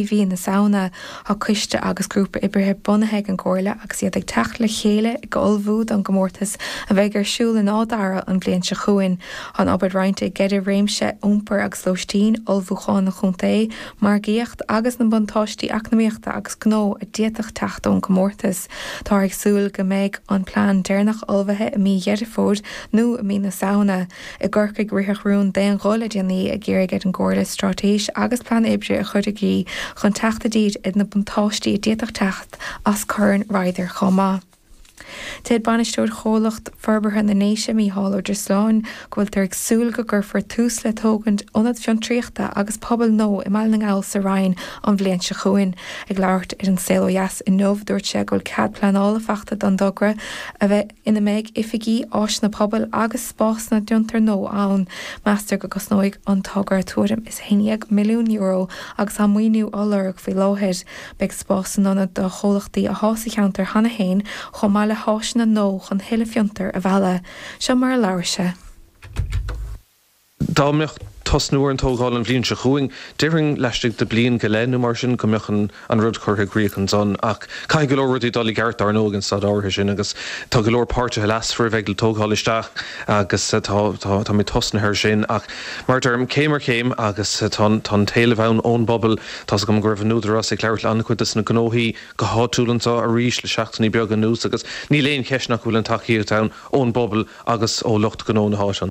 Mhí na Samhna. Tá coiste agus grúpa oibrithe bunaithe ag an gComhairle agus iad ag teacht le chéile ag ullmhú don gcomórtas a bheidh ar siúl in Áth Dara an bhliain seo chugainn. Tá an obair roinnte i gceithre réimse, iompar agus lóistín, ullmhúchán an chontae, margaíocht agus na buntáistí eacnamaíochta agus gnó a d'fhéadfadh teacht ón gcomórtas. Táthar ag súil go mbeidh an plean deireanach ullmhaithe i mí Dheireadh Fómhair nó i mí na Samhna. I gCorcaigh, ritheadh rún d'aon ghuth le déanaí ag iarraidh ar an gComhairle straitéis agus plean oibre a chur i gcrích chun teacht i dtír ar na buntáistí a d'fhéadfadh teacht as Corn Ryder chomh maith. Deir bainisteoir Chomhlacht Forbartha na nDéise, Mícheál Ó Drisleáin, go bhfuiltear ag súil go gcuirfear tús le tógaint ionad fiontraíochta agus pobail nua i mBaile na nGall sa Rinn an bhliain seo chugainn. Ag labhairt ar An Saol Ó Dheas inniu, dúirt sé go bhfuil cead pleanála faighte don dtogra a bheidh ina mbeidh oifigí, áiseanna pobail agus spásanna d'fhiontair nua ann. Meastar go gcosnóidh an togra tuairim is €11 milliún agus tá maoiniú á lorg faoi láthair. Beidh spás san ionad do chomhlachtaí athá sa cheantar cheana féin chomh maith le háiseanna nua chun thuilleadh fiontar a mhealladh. Seo mar a labhair sé. Dá mbeadh tosnú ar an tógáil an bhliain seo chugainn, déarfainn laistigh de bliain go leith nó mar sin go mbeadh an rud curtha i gcrích ansan. Ach caithfidh go leor rudaí dul i gceart dar ndóigh an staid áirithe sin agus tá go leor páirtithe leasmhara a bheidh le tógáil isteach agus tá táimid tosnaithe ar sin. Ach mar a deirim, céim ar chéim agus tá an t-éileamh ann ón bpobal. Tá's agam go raibh an Údarás ag labhairt le an-chuid des na gnóthaí go háitiúil anseo arís le seachtainí beaga anuas agus níl aon cheist nach bhfuil an tacaíocht ann ón bpobal agus ó lucht gnó na háite.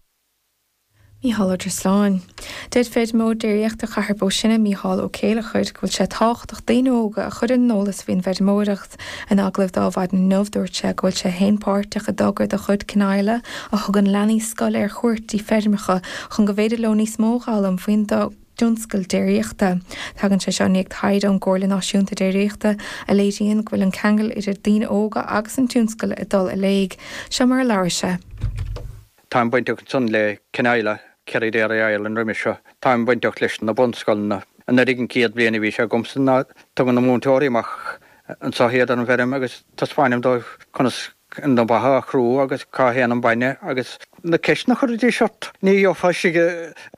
Mícheál Ó Drisleáin. Deir feirmeoir déiríochta Chathair Bó Sine, Mícheál Ó Céileachair, go bhfuil sé tábhachtach daoine óga a chur ar an eolas faoin bhfeirmeoireacht. In agallamh dó Adhmhaidin inniu, dúirt sé go bhfuil sé féin páirteach i dtogra de chuid Cniola a thugann leanaí scoile ar chuairt dtí feirmeacha chun go bhféidir leo níos mó a dh'fhoghlaim faoin dtionscal déiríochta. Tagann sé seo i ndiaidh taighde ón gComhairle Náisiúnta Déiríochta a léiríonn go bhfuil an ceangal idir daoine óga agus an tionscal ag dul i léig. Seo mar a labhair sé. Táim bainteach ansan le Cniola, Kerry Dairy Ireland roimis seo. Táim bainteach leis na bunscoileanna. Anuraidh an chéad bhliain a bhí sé agamsa ná tugann na múinteoirí amach anso iad ar an bhfeirm agus taispeáinim dóibh conas na ba a chrú agus cá théann an bainne agus na ceisteanna a chuiridís ort. Ní gheofá istigh i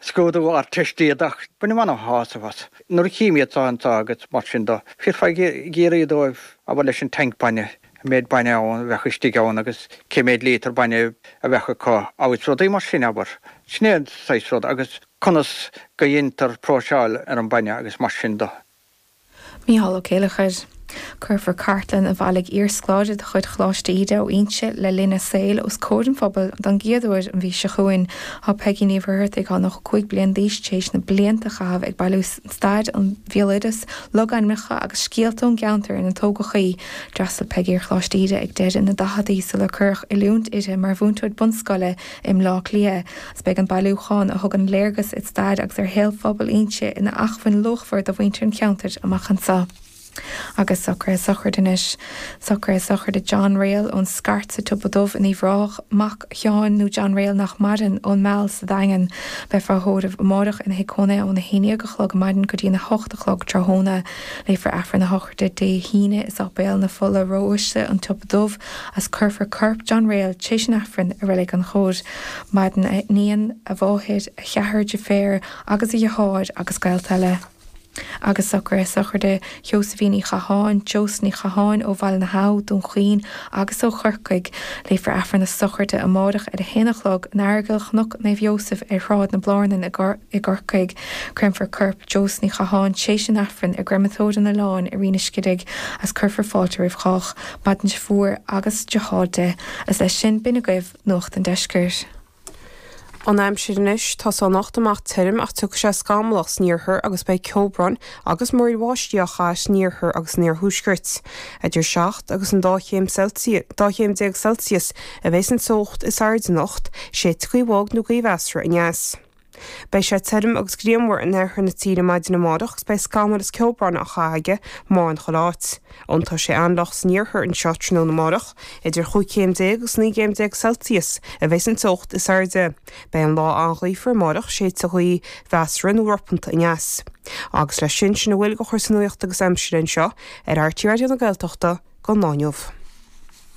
scrúdú Ardteiste iad ach bainim ana-shásamh as. Nuair a chím iad so anso agus mar sin do, bhífeá ag iarraidh dóibh abair leis an tank bainne. an méid bainne ann a bheadh istigh ann agus cé méid líotar bainne a bheadh acu agus rudaí mar sin, abair. Sin é an saghas rud agus conas go dheintear próiseáil ar an bainne agus mar sin do. Mícheál Ó Céileachair. Cuirfear cartlann a bhailigh iarscoláire de chuid Choláiste Íde ó Inse le linn a saoil os comhair an phobail don gcéad uair an mhí seo chugainn. Tá Peigí Ní Mhuircheartaigh, atá 95 bliain d'aois, tar éis na blianta a chaitheamh ag bailiú stair an bhéaloideas, logainmneacha agus scéalta ón gceantar inar tógadh í. D'fhreastail Peigí ar Choláiste Íde ag deireadh na daicheadaí sular cuireadh oiliúint uirthi mar mhúinteoir bunscoile i mBleá Cliath. Agus beidh an bailiúchán, a thugann léargas ar stair agus ar shaol phobal Inse, ina acmhainn luachmhar do mhuintir an cheantair amach anseo. Agus socruithe sochraide anois. Socruithe sochraide John Réal ón Scairt sa tSiopa Dubh in Uíbh Ráthach, mac Sheáin nó John Réal nach maireann, ón Meal sa Daingean. Beifear á thórramh amárach ina thigh cónaithe óna 11 a chlog ar maidin go dtína 8 a chlog tráthnóna. Léifear Aifreann na sochraide Dé hAoine i Sáipéal na Fola Ró-Uaisle, An tSiopa Dubh, agus cuirfear corp John Réal tar éis an Aifrinn i Reilig an Chóir. Maireann a iníon, a mháthair, a cheathrar deirféar agus a dheartháir agus gaolta eile. Agus socruithe sochraide Sheosaimhín Uí Chatháin, Joe Ní Chatháin ó Bhaile na hAbha, Dún Chaoin agus ó Chorcaigh. Léifear Aifreann na sochraide amárach ar a haon a chlog in Aireagal Chnoc Naomh Iósaef ar Shráid na Blárnan i gCorcaigh. Créamfar corp Joe Ní Chatháin tréis an Aifrinn i gCreamatóir an Oileáin i Rinn an Scidígh agus cuirfear fáilte roimh chách. Maireann deirfiúr agus deartháir di. Agus leis sin, b'in agaibh Nuacht an Deiscirt. An aimsir anois, Tosóidh anocht amach tirim ach tiocfaidh sé scamallach san iarthar agus beidh ceobhrán agus múraíl bháistí á chaitheamh san iarthar agus san iarthuaisceart. Idir 7 agus an 12 chéim chéim Celsius a bheidh an teocht is airde anocht, séidfidh gaoth bhog nó gaoth mheasartha aneas. Beidh sé tirim agus grianmhar in oirthear na tíre maidin amárach agus beidh scamaill is ceobhrán á chaitheamh aige mórán chuile áit. Iontóidh sé an-fhliuch san iarthar anseo tráthnóna amárach. Idir chúig chéim déag agus 19 gcéim Celsius a bheidh an teocht is airde. Beidh an lá an-ghaofar amárach, séidfidh gaoth mheasartha nó ropanta aneas. Agus leis sin, sin a bhfuil de chúrsaí nuachta agus aimsire anseo ar RTÉ Raidió na Gaeltachta don lá inniu.